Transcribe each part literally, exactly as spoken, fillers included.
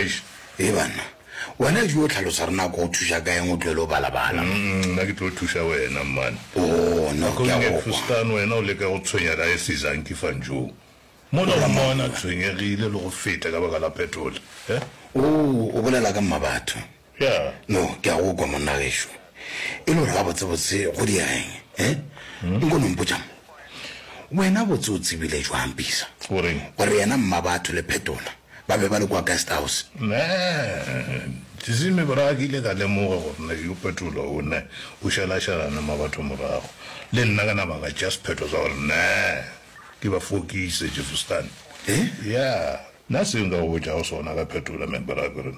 tlaiša. E banna, wena jo o tlhalosa re nako go thuša ka eng o tlwele o balabala? Mm, nna ke tlo thuša wena, mmane. Oh, no, ke a Nakong e go kwa. Fustan wena o leka go tshwenya Diocese Fanjo. Mola o mmona a tshwenyegile le go feta ka baka la Phetola. Eh? Oh, o bolela ka mmabatho. Ya. No, ke a go kwa monna gešo. E le gore gabotsebotse go diega eng? Eh? Nko no mpotša mo. Wena botse o tsebile jwang Bisa? Goreng? Gore yena mmabatho le Phetola ba be ba le kwa guest house. Ne, Tsizime bra ke ile ka lemoga gore ne yo Phetola o ne o šalašalana mmabatho morago. Le nna ka nama ka tšea sephetho sa gore ne ke ba fokise Jefferson. Eh? Ya, nna seo nka go botšago sona ka Phetola man bra ke gore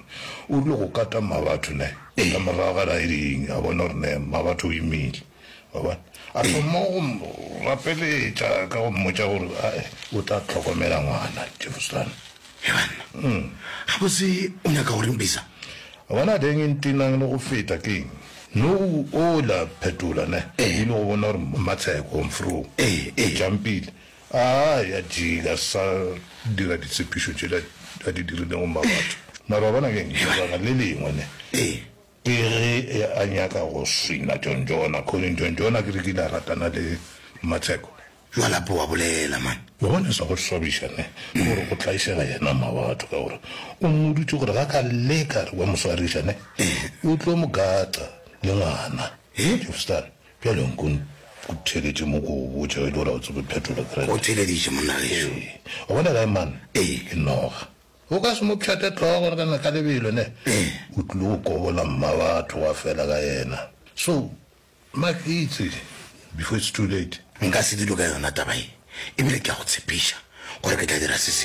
o rile go kata mmabatho ne ka morago ga riding a bona gore ne mmabatho o imile. Wa bona? A thoma go mo rapeletša ka go mmotša gore ae o tla hlokomela ngwana Jefferson. He banna. Gabotse o nyaka go reng Bisa? Wa bona teng e ntenang le go feta keng? No ola Phetola ne Eh. ile go bona gore Mmatsheko Mfro Eh, eh. o jumpile. A ya jika sa dira ditshepišo tšela a di dirilego mmabatho. Mara wa bona keng? Lebaka le lengwe ne Eh. ke ge a nyaka go swina John Jona. Colin John Jona ke re ke ile a ratana le Mmatsheko. Jwale ape wa bolela man. Wa bona sa go swabiša ne ke gore go tlaišega yena mmabatho ka gore o mmoditše gore ga ka leka re wa mo swariša ne o tlo mo gata le ngwana. Eh? Jefferson bjale nko o theletše mo ko go botša e le gore ga o tsebe Phetola O krante. theleditše monna gešo. Ee, wa bona kae man? Ee. Ke noga. O ka se mo pšhate hlogo gore kana ka lebelo ne. Ee. O tlile go kobola mmabatho wa fela ka yena. So, makitse before it's too late. Nka se dule ka yona taba e. Ebile ke a go tshepiša gore ke tla dira se sengwe.